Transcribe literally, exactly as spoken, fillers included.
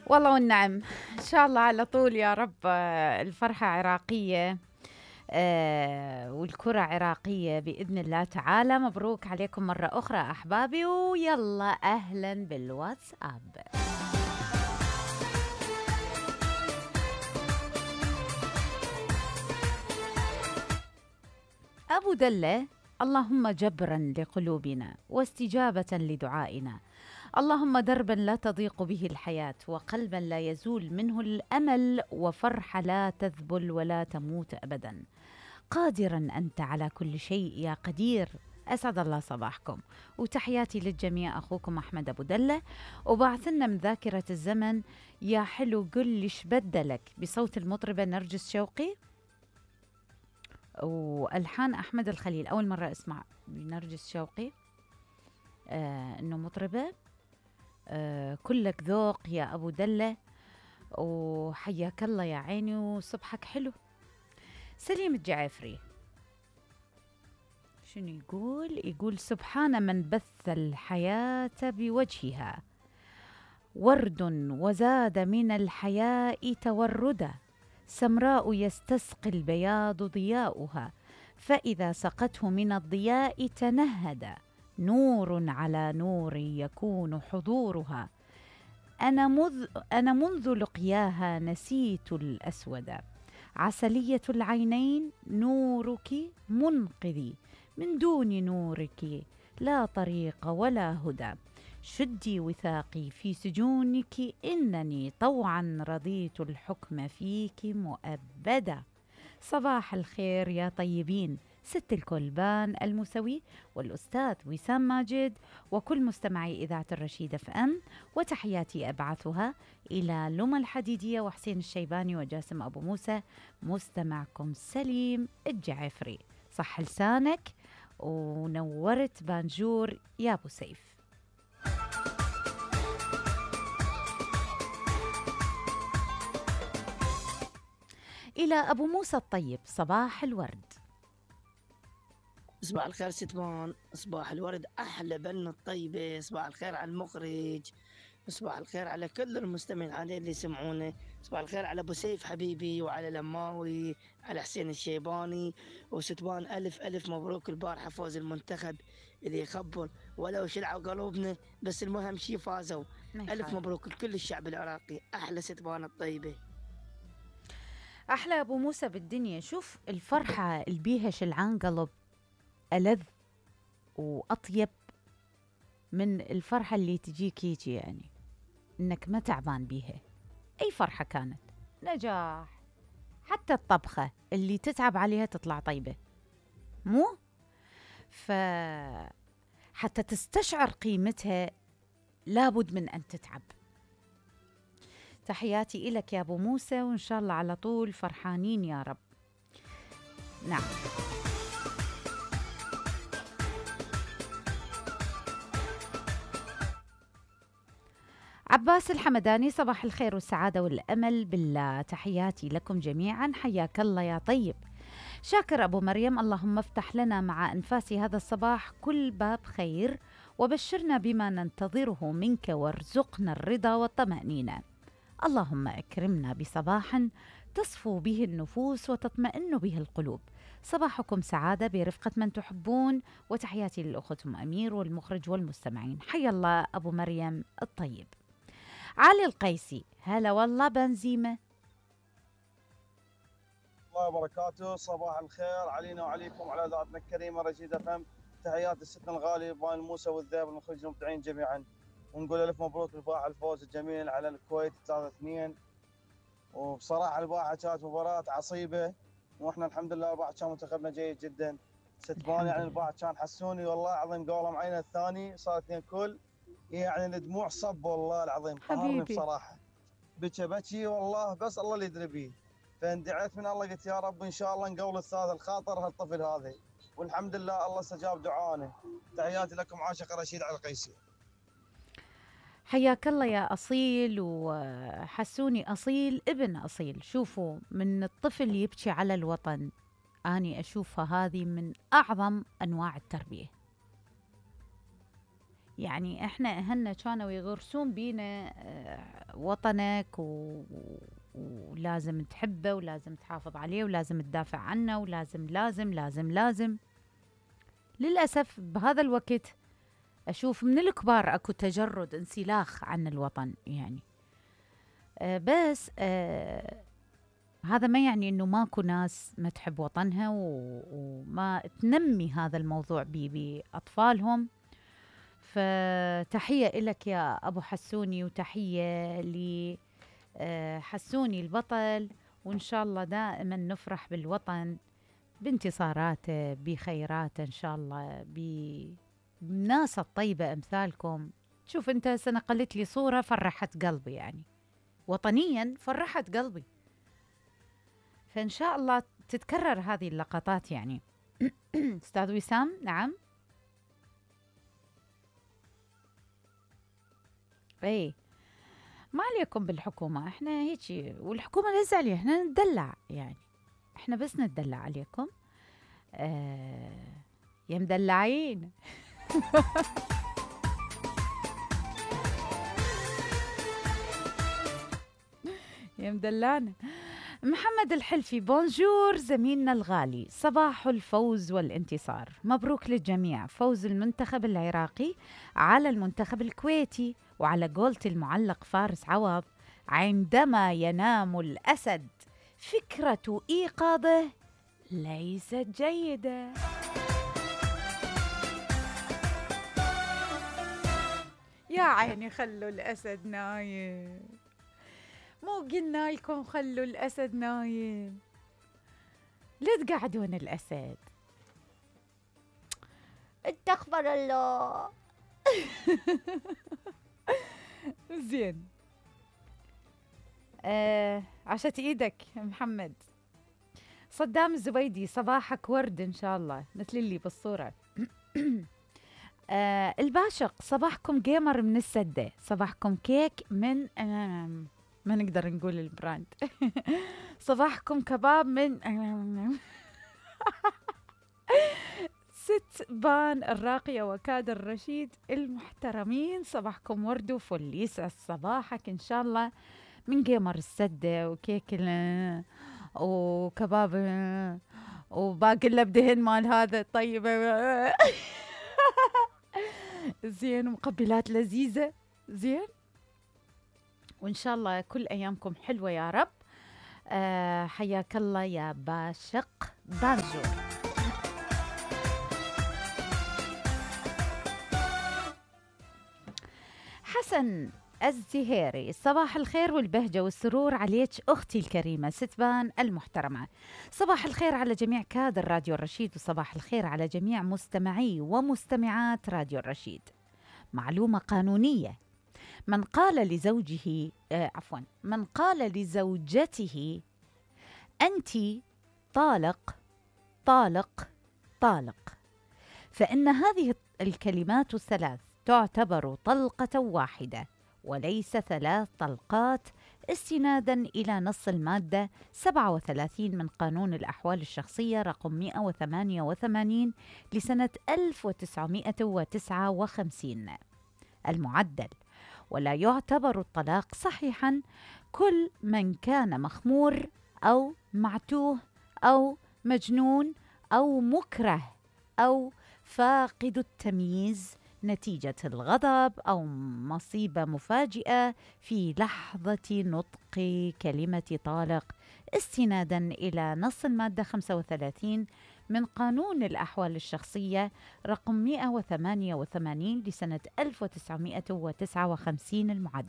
والله والنعم. إن شاء الله على طول يا رب. آه، الفرحة عراقية. آه، والكرة عراقية بإذن الله تعالى. مبروك عليكم مرة أخرى أحبابي، ويلا أهلا بالواتساب. أبو دلة: اللهم جبرا لقلوبنا واستجابة لدعائنا، اللهم دربا لا تضيق به الحياة، وقلبا لا يزول منه الأمل، وفرحة لا تذبل ولا تموت أبدا. قادرا أنت على كل شيء يا قدير. أسعد الله صباحكم وتحياتي للجميع. أخوكم أحمد أبو دلة، وبعثنا من ذاكرة الزمن يا حلو قل ليش بدلك بصوت المطربة نرجس شوقي والحان احمد الخليل. اول مره اسمع نرجس شوقي آه انه مطربه. آه كلك ذوق يا ابو دله، وحياك الله يا عيني وصبحك حلو. سليم الجعافري شنو يقول؟ يقول سبحان من بث الحياة بوجهها، ورد وزاد من الحياء توردا، سمراء يستسقي البياض ضياؤها، فإذا سقته من الضياء تنهد، نور على نور يكون حضورها. أنا, مذ أنا منذ لقياها نسيت الأسود، عسلية العينين نورك منقذي، من دون نورك لا طريق ولا هدى، شدي وثاقي في سجونك إنني طوعا رضيت الحكم فيك مؤبدا. صباح الخير يا طيبين، ست الكلبان المسوي والأستاذ وسام ماجد وكل مستمعي إذاعة الرشيد اف ام، وتحياتي أبعثها إلى لما الحديدية وحسين الشيباني وجاسم أبو موسى. مستمعكم سليم الجعفري. صح لسانك ونورت بانجور يا أبو سيف. إلى أبو موسى الطيب: صباح الورد. صباح الخير ستمان، صباح الورد، أحلى بن الطيبة، صباح الخير على المخرج، صباح الخير على كل المستمعين عليه اللي يسمعونه، صباح الخير على أبو سيف حبيبي وعلى لماوي، على حسين الشيباني وستمان. ألف ألف مبروك البارحة فوز المنتخب اللي يخبر ولو شلعوا قلوبنا، بس المهم شي فازوا. ألف مبروك لكل الشعب العراقي. أحلى ستمان الطيبة. أحلى أبو موسى بالدنيا. شوف الفرحة اللي بيها شلعان قلب ألذ وأطيب من الفرحة اللي تجيك يجي، يعني إنك ما تعبان بيها. أي فرحة كانت، نجاح، حتى الطبخة اللي تتعب عليها تطلع طيبة، مو؟ فحتى تستشعر قيمتها لابد من أن تتعب. تحياتي إلك يا أبو موسى، وإن شاء الله على طول فرحانين يا رب. نعم. عباس الحمداني: صباح الخير والسعادة والأمل بالله، تحياتي لكم جميعا، حياك الله يا طيب. شاكر أبو مريم: اللهم افتح لنا مع أنفاس هذا الصباح كل باب خير، وبشرنا بما ننتظره منك، وارزقنا الرضا والطمأنينة. اللهم أكرمنا بصباح تصفو به النفوس وتطمئن به القلوب. صباحكم سعادة برفقة من تحبون، وتحياتي للأخت أم أمير والمخرج والمستمعين. حيا الله أبو مريم الطيب. علي القيسي: هلا والله بنزيمة. الله وبركاته. صباح الخير علينا وعليكم على ذاتنا الكريمة رشيد فهم. تحيات السيدنا الغالي بان موسى والذئب المخرج المبدعين جميعا، ونقول الف مبروك البارحة الفوز الجميل على الكويت ثلاثة اثنين. وبصراحة البارحة كانت مباراة عصيبة، واحنا الحمد لله البارحة كان منتخبنا جيد جدا. ستمان يعني البارحة كان حسوني والله العظيم قولة معينة الثاني صار اثنين كل، يعني الدموع صب والله العظيم، قهرني بصراحة، بكى بكي والله، بس الله اللي يدري بيه. فاندعيت من الله قلت يا رب ان شاء الله نقول الثالث الخاطر هالطفل هذا، والحمد لله الله استجاب دعائنا. تحياتي لكم عاشق رشيد على القيسي. حياك الله يا أصيل، وحسوني أصيل ابن أصيل. شوفوا، من الطفل يبكي على الوطن، أني أشوفها هذه من أعظم أنواع التربية. يعني احنا اهلنا كانوا يغرسون بينا آه، وطنك و... ولازم تحبه ولازم تحافظ عليه ولازم تدافع عنه ولازم لازم لازم لازم. للأسف بهذا الوقت أشوف من الكبار أكو تجرد انسلاخ عن الوطن يعني. أه بس أه هذا ما يعني أنه ماكو ناس ما تحب وطنها وما تنمي هذا الموضوع بأطفالهم. فتحية إلك يا أبو حسوني وتحية لحسوني البطل، وإن شاء الله دائما نفرح بالوطن بانتصاراته بخيراته إن شاء الله بالناس الطيبة أمثالكم. شوف أنت سنة قلت لي صورة فرحت قلبي، يعني وطنيا فرحت قلبي، فإن شاء الله تتكرر هذه اللقطات يعني. أستاذ وسام. نعم. ايه ما عليكم بالحكومة، احنا هيجي والحكومة لا تزعلي، احنا ندلع يعني، احنا بس ندلع عليكم. آه يا مدلعين. يا مدلعنا. محمد الحلفي بونجور زميلنا الغالي، صباح الفوز والانتصار، مبروك للجميع، فوز المنتخب العراقي على المنتخب الكويتي، وعلى قولة المعلق فارس عوض عندما ينام الأسد فكرة إيقاظه ليست جيدة. يا عيني خلوا الأسد نايم، مو قلنا لكم خلوا الأسد نايم؟ لا تقعدون الأسد. استغفر الله. زين. آه عشت ايدك يا محمد. صدام الزبيدي صباحك ورد ان شاء الله مثل اللي بالصورة. آه الباشق صباحكم جيمر من السدة، صباحكم كيك من آه ما نقدر نقول البراند. صباحكم كباب من ست بان الراقية وكادر الرشيد المحترمين، صباحكم ورد وفل، يسعد صباحك إن شاء الله من جيمر السدة وكيك وكباب وباقي اللبدهن مال هذا الطيب. زين، ومقبلات لذيذة. زين، وإن شاء الله كل أيامكم حلوة يا رب. أه حياك الله يا باشق بانجو. حسن الزهيري صباح الخير والبهجة والسرور عليك أختي الكريمة ستبان المحترمة، صباح الخير على جميع كادر راديو الرشيد، وصباح الخير على جميع مستمعي ومستمعات راديو الرشيد. معلومة قانونية: من قال لزوجه آه عفوا من قال لزوجته أنت طالق طالق طالق، فإن هذه الكلمات الثلاث تعتبر طلقة واحدة وليس ثلاث طلقات، استنادا إلى نص المادة سبعة وثلاثين من قانون الأحوال الشخصية رقم مئة وثمانية وثمانين لسنة ألف وتسعمئة وتسعة وخمسين المعدل. ولا يعتبر الطلاق صحيحا كل من كان مخمور أو معتوه أو مجنون أو مكره أو فاقد التمييز نتيجة الغضب أو مصيبة مفاجئة في لحظة نطق كلمة طالق، استنادا إلى نص المادة خمسة وثلاثين من قانون الأحوال الشخصية رقم مئة وثمانية وثمانين لسنة ألف وتسعمئة وتسعة وخمسين المعدل.